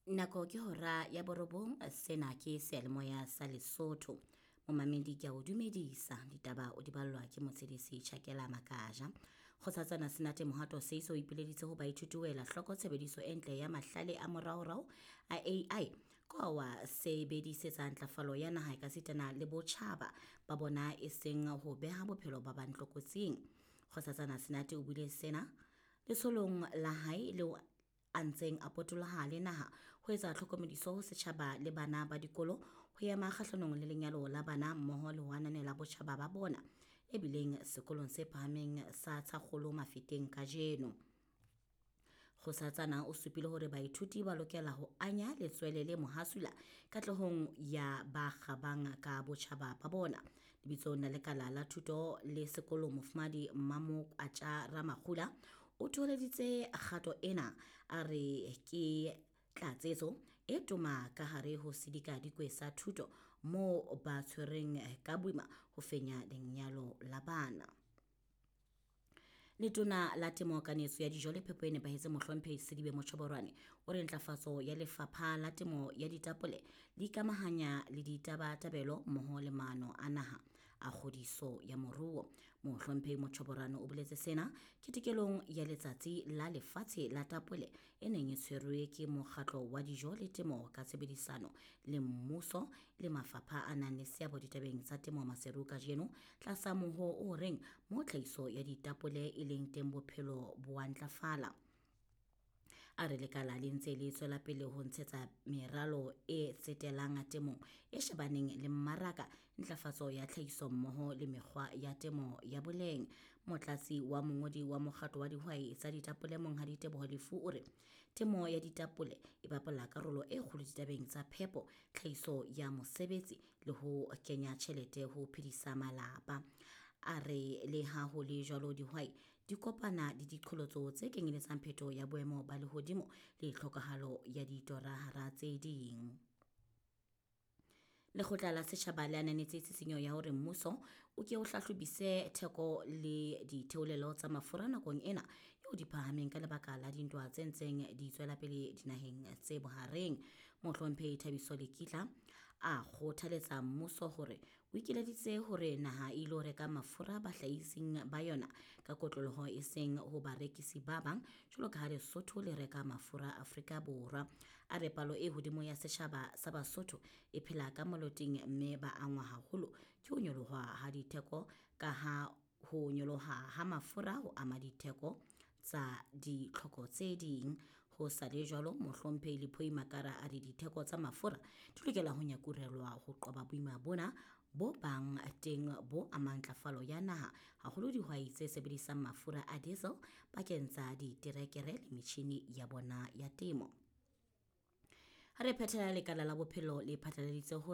Nako ke hora ya borobong, sena ke seyalemoya sa Lesotho. Momamedi ke a o dumedisa, ditaba o di ballwa ke motshedisi Tjhakela Makaja. Kgosatsana Senate Mohato Seiso o ipileditse ho baithuti ho ela hloko tshebediso e ntle ya mahlale a moraorao a AI ka wa sebedisetsa ntlafalo ya naha ekasitana le botjhaba ba bona e seng ho beha bophelo ba bang tlokotsing. Kgosatsana Senate o buile sena letsholong la hae leo a ntseng a potoloha le naha ho etsa tlhokomediso ho setjhaba le bana ba dikolo ho ema kgahlanong le lenyalo la bana mmoho le ho ananela botjhaba ba bona e bileng sekolong se phahameng sa Tshakgolo Mafeteng kajeno. Kgosatsana o supile hore baithuti ba lokela ho anya letswele le mohasula katlehong ya ba kgabang ka botjhaba ba bona. Lebitsong la lekala la thuto le sekolo Mofumahadi Mmamokwatja Ramakgula o thoholeditse kgato ena a re ke tlatsetso e toma ka hare ho sedikadikwe sa thuto moo ba tshwereng ka boima ho fenya lenyalo la bana. Letona la Temo Kanetso ya Dijo le Phepo e Nepahetseng Mohlomphehi Sedibe Motjhoborwane o re ntlafatso ya lefapha la temo ya ditapole le ikamahanya le ditabatabelo mmoho le maano a naha a kgodiso ya moruo. Mohlomphehi Motjhoborwane o boletse sena ketekelong ya letsatsi la lefatshe la tapole e neng e tshwerwe ke mokgatlo wa dijo le temo ka tshebedisano le mmuso le mafapha a nang le seabo ditabeng tsa temo Maseru kajeno tlasa moho o reng mo tlhahiso ya ditapole e leng teng bophelo bo a ntlafala. A re lekala le ntse le tswela pele ho ntshetsa meralo e tsetelang temong e shebaneng le mmaraka, ntlafatso ya tlhahiso mmoho le mekgwa ya temo ya boleng. Motlatsi wa mongodi wa mokgatlo wa dihwai tsa ditapole Monghadi Teboho Lefu o re temo ya ditapole e bapala karolo e kgolo ditabeng tsa phepo, tlhahiso ya mosebetsi le ho kenya tjhelete ho phedisa malapa. A re le ha ho le jwalo dihwai di kopana le diqholotso tse kenyeletsang phetoho ya boemo ba lehodimo le tlhokahalo ya ditora hara tse ding. Lekgotla la setjhaba le ananetse tshisinyo ya hore mmuso o ke o hlahlobise theko le ditheolelo tsa mafura nakong ena eo di phahameng ka lebaka la dintwa tse ntseng di tswela pele dinaheng tse bohareng. Mohlomphehi Thabiso Lekitla a kgothaletsa mmuso hore o ikileditse hore naha e ilo reka mafura bahlahising ba yona ka kotloloho e seng ho barekisi ba bang jwalo ka ha Lesotho le reka mafura Afrika Borwa. A re palo e hodimo ya setjhaba sa Basotho e phela ka moloting mme ba angwa haholo ke ho nyoloha ha ditheko ka ha ho nyoloha ha mafura ho ama ditheko tsa ditlhoko tse ding. Ho sa le jwalo, Mohlomphehi Lephoi Makara a re ditheko tsa mafura di lokela ho nyakurelwa ho qoba boima bona bo bang teng bo amang ntlafalo ya naha, haholo dihwai tse sebedisang mafura a diesel bakeng tsa diterekere le metjhini ya bona ya temo. Ha re phethela lekala la bophelo le phatlaladitse hore